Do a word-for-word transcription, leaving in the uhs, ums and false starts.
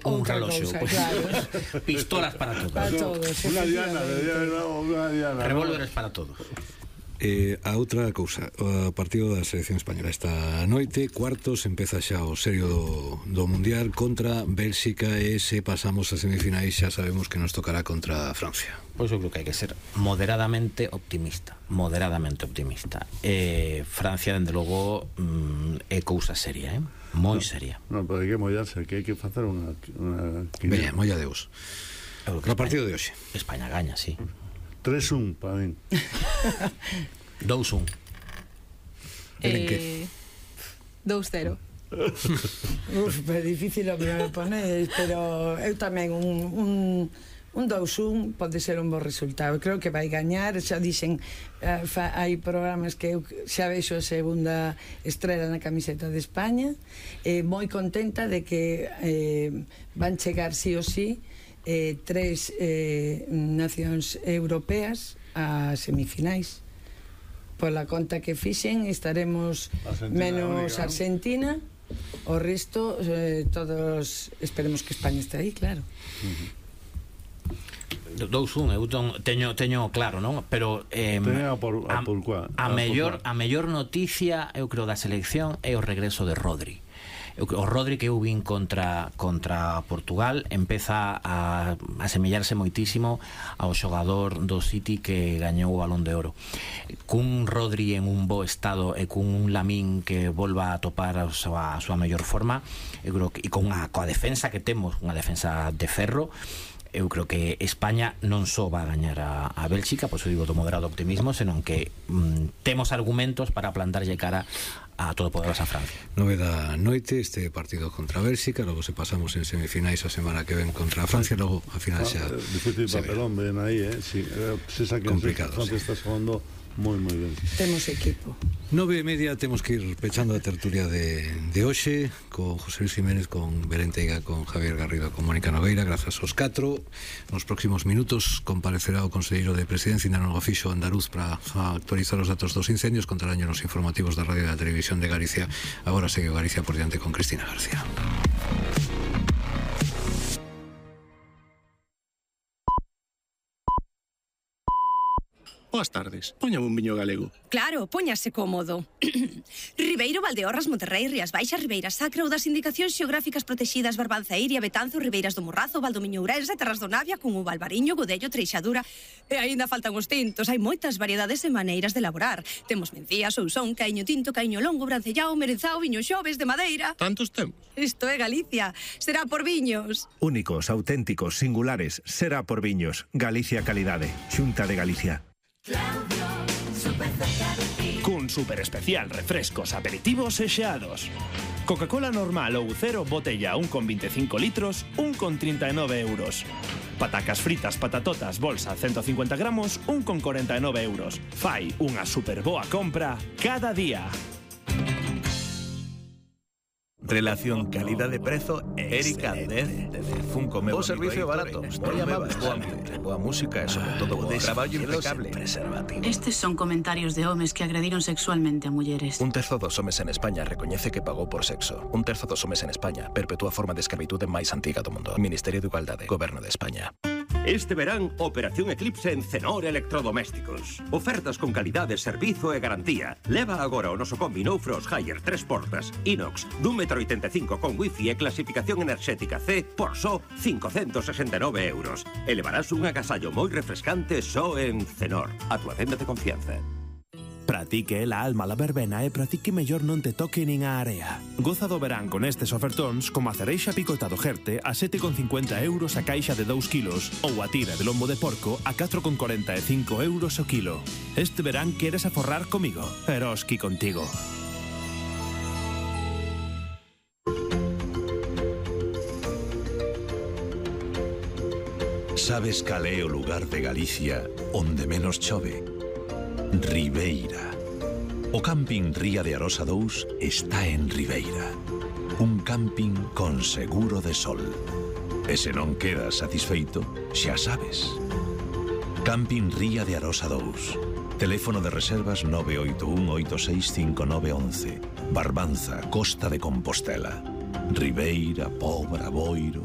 un Outra reloxo, cousa, pues, claro. Pistolas para todos. Para todos, Unha diana, efectivamente. unha diana. Revólveres para todos. Eh, a outra cousa, o partido da selección española esta noite, cuartos, empeza xa o serio do, do Mundial contra Bélxica, e se pasamos a semifinais xa sabemos que nos tocará contra Francia. Pois eu creo que hai que ser moderadamente optimista, moderadamente optimista. Eh, Francia, dende logo, mm, é cousa seria, eh? moi seria. Non, pero hai que mollarse, que hai que facer unha... unha Veña, molla Deus. Eu creo No que partido España- de hoxe. España gaña, sí. tres un para min. dous un. Eren que? Eh, dous cero. Uf, pero difícil o que me pones, pero eu tamén un, un, un dous un pode ser un bo resultado. Creo que vai gañar, xa dixen, uh, fa, hai programas que eu xa vexo a segunda estrela na camiseta de España, eh, moi contenta de que eh, van chegar sí o sí eh, tres eh, nacións europeas a semifinais. Pola conta que fixen estaremos Argentina, menos única. Argentina, o resto eh, todos esperemos que España este aí, claro. dous un, eu ton, teño, teño claro, non? Pero eh, Teña a por- a por cuá, a, a por mellor, cuá. a mellor noticia, eu creo, da selección é o regreso de Rodri. Eu, o Rodri que eu vin contra contra Portugal empeza a, a semellarse moitísimo ao xogador do City que gañou o Balón de Oro. Cun Rodri en un bo estado e cun un Lamín que volva a topar a súa, a súa mellor forma, eu creo que, e con a, coa defensa que temos, unha defensa de ferro, eu creo que España non só va a gañar a, a Bélxica, pois eu digo do moderado optimismo, senón que mm, temos argumentos para plantarlle cara a todopoderosa Francia. Nove da noite este partido contra Bélxica, logo se pasamos en semifinais a semana que ven contra Francia, logo a final xa Ah, difícil se ve. papelón, ven aí, eh? Si, eh, se saquen Complicado, Francia sí. está xogando moi, moi ben. Temos equipo. Nove e media temos que ir pechando a tertulia de, de hoxe con José Luis Jiménez, con Belén Teiga, con Javier Garrido, con Mónica Nogueira. Grazas aos catro. Nos próximos minutos comparecerá o Conselleiro de Presidencia, ainda non o fixo andaluz, para actualizar os datos dos incendios. Contarán nos informativos da Radio e da Televisión de Galicia. Agora segue Galicia por diante con Cristina García. Boas tardes, póñame un viño galego. Claro, póñase cómodo. Ribeiro, Valdeorras, Monterrei, Rías Baixas, Ribeira Sacra ou das indicacións xeográficas protexidas Barbanza Iria, Betanzo, Ribeiras do Morrazo, Valdomiño Ourense, Terras do Navia, Cunhuva, Albariño, Godello, Treixadura. E aínda faltan os tintos, hai moitas variedades e maneiras de elaborar. Temos mencía, sousón, caiño tinto, caiño longo, brancellao, merenzao, viño xoves de madeira. Tantos temos. Isto é Galicia, será por viños. Únicos, auténticos, singulares, será por viños. Galicia Calidade, Xunta de Galicia. Cun super especial refrescos, aperitivos e xeados. Coca-Cola normal ou cero botella un con veinticinco litros, un con trinta e nove euros. Patacas fritas, patatotas, bolsa ciento cincuenta gramos, un con cuarenta e nove euros. Fai unha super boa compra cada día. Relación calidade-prezo Erika Aldez Funko meu. O servicio barato, moi amable, boa, boa música e sobre todo bo traballo impecable. Estes son comentarios de homes que agrediron sexualmente a mulleres. Un terzo dos homes en España recoñece que pagou por sexo. Un terzo dos homes en España perpetúa a forma de escravitude máis antiga do mundo. Ministerio de Igualdade, Goberno de España. Este verán, Operación Eclipse en Cenor Electrodomésticos. Ofertas con calidade, servizo e garantía. Leva agora o noso combi No Frost Higher tres portas, inox, dun metro oitenta e cinco con wifi e clasificación enerxética C por só cincocentos sesenta e nove euros. E levarás un agasallo moi refrescante só en Cenor, a tua tenda de confianza. Pratique la alma la verbena e pratique mellor non te toque nin a area. Goza do verán con estes ofertóns como a cereixa picotado Jerte a sete con cincuenta euros a caixa de dous kilos ou a tira de lombo de porco a catro con cuarenta e cinco euros o kilo. Este verán queres aforrar comigo, Eroski contigo. Sabes cal é o lugar de Galicia onde menos chove? Ribeira. O camping Ría de Arosa dous está en Ribeira. Un camping con seguro de sol. E se non quedas satisfeito, xa sabes. Camping Ría de Arosa dous. Teléfono de reservas nove oito un oito seis cinco nove once. Barbanza, Costa de Compostela. Ribeira, Pobra, Boiro.